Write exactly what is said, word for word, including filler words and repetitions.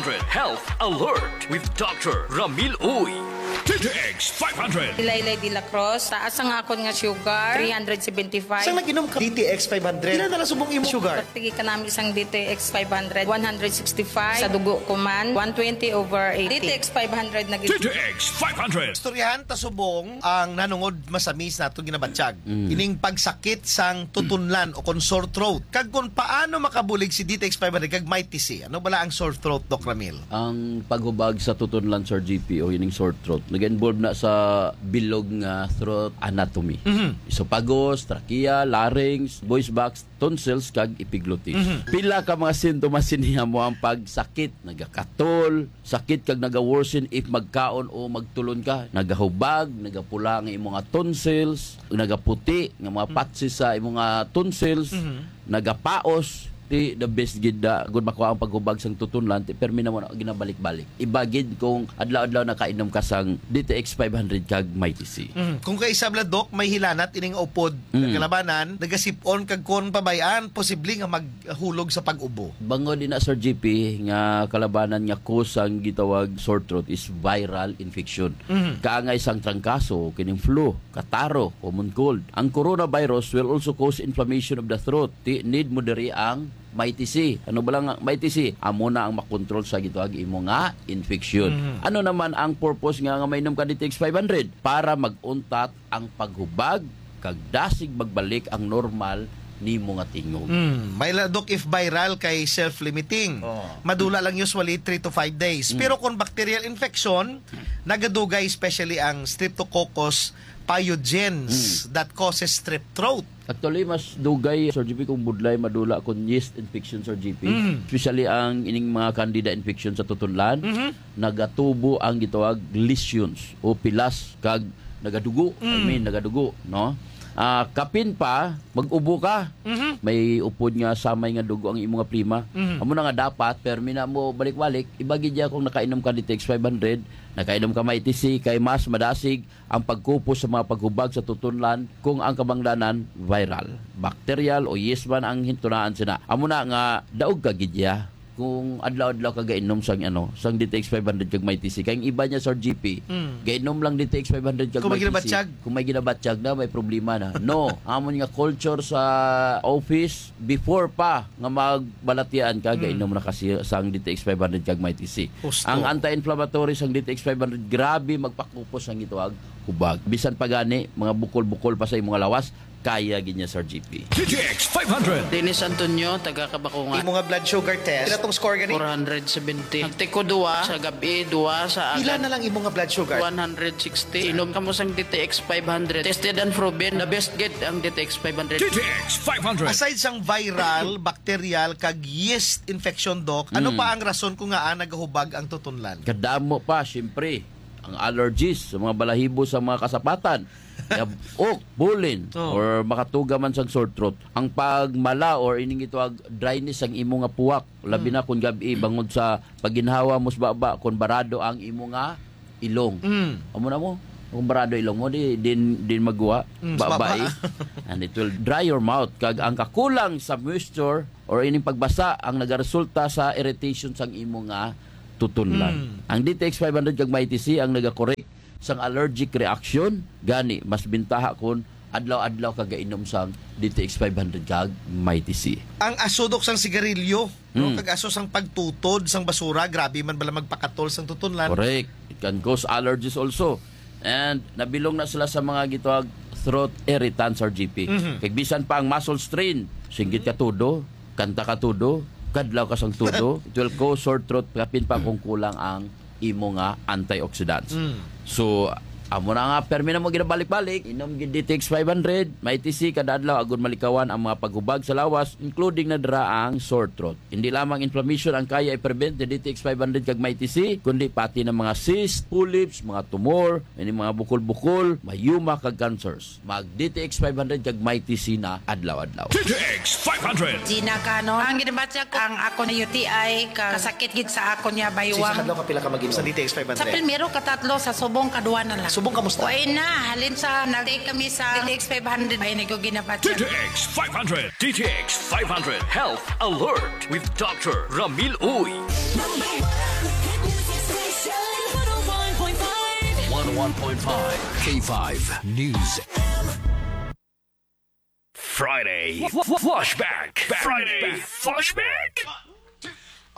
Health Alert with Doctor Ramil Uy. D T X five hundred. Ilaylay de la Cruz, taas ang akon nga sugar, three hundred seventy-five. Sa nag-inom ka D T X five hundred, pila na lang subong imong sugar? Tigi ka namin sang D T X five hundred, one hundred sixty-five. Sa dugo ko man, one twenty over eighty. D T X five hundred na gid. D T X five hundred. Istoryahan ta subong ang nanungod masamis nato ginabatyag. Mm. Ining pagsakit sang tutunlan o kon sore throat. Kag kung paano makabulig si D T X five hundred kag Mighty C. Ano bala ang sore throat, Doc Ramil? Ang paghubag sa tutunlan, Sir G P, o ining sore throat, nag-involve na sa bilog nga throat anatomy. Mhm. Esophagus, trachea, larynx, voice box, tonsils, kag epiglottis. Mhm. Pila ka mga sintomas sini amo ang pagsakit, nagakatol, sakit kag naga-worsen if magkaon o magtulon ka, nagahubag, nagapula ang imo nga tonsils, nagaputi nga mga Mm. patches sa imo nga tonsils, Mhm. nagapaos, ti the best gid da, gud makuha ang paghubag sang tutunlan, ti permi na mo na ginabalik-balik. Iba gid kung adlaw-adlaw nakainom ka sang D T X five hundred kag Mighty C. Mhm. Kung kaisab la, Doc, may hilanat ining upod Mm. kalabanan, nagasipon kag kung pabayaan, posible nga maghulog sa pag-ubo. Bangod ina, Sir G P, nga kalabanan nga cause sang gitawag sore throat is viral infection. Mhm. Kaangay sang trangkaso, kining flu, kataro, common cold. Ang coronavirus will also cause inflammation of the throat. Ti, need mo diri ang Mighty C. Ano ba lang ang Mighty C? Amo na ang makontrol sa gitawag imo nga infection. Mhm. Ano naman ang purpose nga, nga mainom ka D T X five hundred? Para mag-untat ang paghubag kag dasig magbalik ang normal nimo nga tingog. Mm, may la, Doc, if viral kay self-limiting. Oo. Madula lang usually three to five days. Mm. Pero kung bacterial infection, nagadugay especially ang Streptococcus pyogenes Mm. that causes strep throat. Actually, mas dugay, Sir G P, kung budlay madula kung yeast infection, Sir G P. Mm. Especially ang ining mga candida infection sa tutunlan, Mhm. nagatubo ang gitawag lesions o pilas kag nagadugo. I Mm. mean, nagadugo, no? Ah, kapin pa, mag-ubo ka. Mhm. May upod nga samay nga dugo ang imo nga plema. Mhm. Amo na nga dapat, permi na mo balik-balik, iba gid ya kung nakainom ka D T X five hundred, nakainom ka Mighty C, kay mas madasig ang pagkupos sa mga paghubag sa tutunlan kung ang kabangdanan viral, bacterial o yeast man ang hintunaan sina. Amo na nga daog ka gid ya kung adlaw-adlaw ka gainom sang, ano, sang D T X five hundred kag Mighty C. Kay ang iba niya, Sir G P, Mm. gainom lang D T X five hundred kag Kung may Mighty C. ginabatyag. Kung may ginabatyag na, may problema na. No, amon nga culture sa office, before pa nga magbalatian ka, Mm. gainom na kasi sang D T X five hundred kag Mighty C. Husto. Ang anti-inflammatory sang D T X five hundred, grabe magpakupos ang gitawag hubag. Bisan pa gani, mga bukol-bukol pa sa imong lawas, kaya gid niya, Sir G P. D T X five hundred. Dennis Antonio, taga Kabakungan. Imo nga blood sugar test, pila tong score gani? Four hundred seventy. Nagtiko duwa sa gabi, duwa sa Pila agad. na lang imo nga blood sugar? One hundred sixty. Inom kamo sang D T X five hundred. Tested and proven, the best gid ang D T X five hundred. D T X five hundred. Aside sang viral, bacterial, kag yeast infection, Doc, ano Mm. pa ang rason kung ngaa nagahubag ang tutunlan? Kadamo pa, siyempre, ang allergies sa mga balahibo sa mga kasapatan, yab-ok, bulin, Oh. or makatuga man sang sore throat. Ang pagmala or ining gitawag dryness sang imo nga puwak, labi Mm. na kung gabi, bangod sa pagginhawa mo sa baba, kung barado ang imo nga ilong. Mm. Amo na mo, kung barado ilong mo, di, din, din magwa, Mm, sa baba, baba. eh. And it will dry your mouth. Kag ang kakulang sa moisture or ining pagbasa ang nagaresulta sa irritation sang imo nga tutunlan. Mm. Ang D T X five hundred kag Mighty C ang nagakorek sang allergic reaction, gani mas bintaha kon adlaw-adlaw ka gainom sang D T X five hundred kag Mighty C. Ang aso, Doc, sang sigarilyo, no? Mm. Kag aso sang pagtutod sang basura, grabe man bala magpakatol sang tutunlan. Correct. It can cause allergies also. And nabilong na sila sa mga gitawag throat irritants, Sir G P. Mhm. Kag bisan pa ang muscle strain, singgit ka todo, kanta ka todo, kadlaw ka sang todo, it will cause sore throat, kapin pa kung kulang ang imo nga antioxidants. Mm. So, amo na nga, permi na mo ginabalik-balik, inom gid D T X five hundred, Mighty C kada adlaw, agud malikawan ang mga paghubag sa lawas, including na dira ang sore throat. Hindi lamang inflammation ang kaya i-prevent ni D T X five hundred kag Mighty C, kundi pati ng mga cyst, polyps, mga tumor, ini mga bukol-bukol, myoma kag cancers. Mag D T X five hundred kag Mighty C na adlaw-adlaw. D T X five hundred. Gina Cano. Ang ginabatya ko, ang ako na U T I, ka-, kasakit gid sa ako niya, Sa baywang. Isang adlaw ka pila ka mag-inom sa D T X five hundred? Sa primero, katatlo, sa subong, kadwa na lang. Subong, kamusta? Way na, halin sa nag-take kami sa D T X five hundred, ay, nag-, ginabatya. D T X five hundred. D T X five hundred Health Alert with Doctor Ramil Uy. one point five K five News. Friday Fl- Fl- Flashback. Friday Flashback.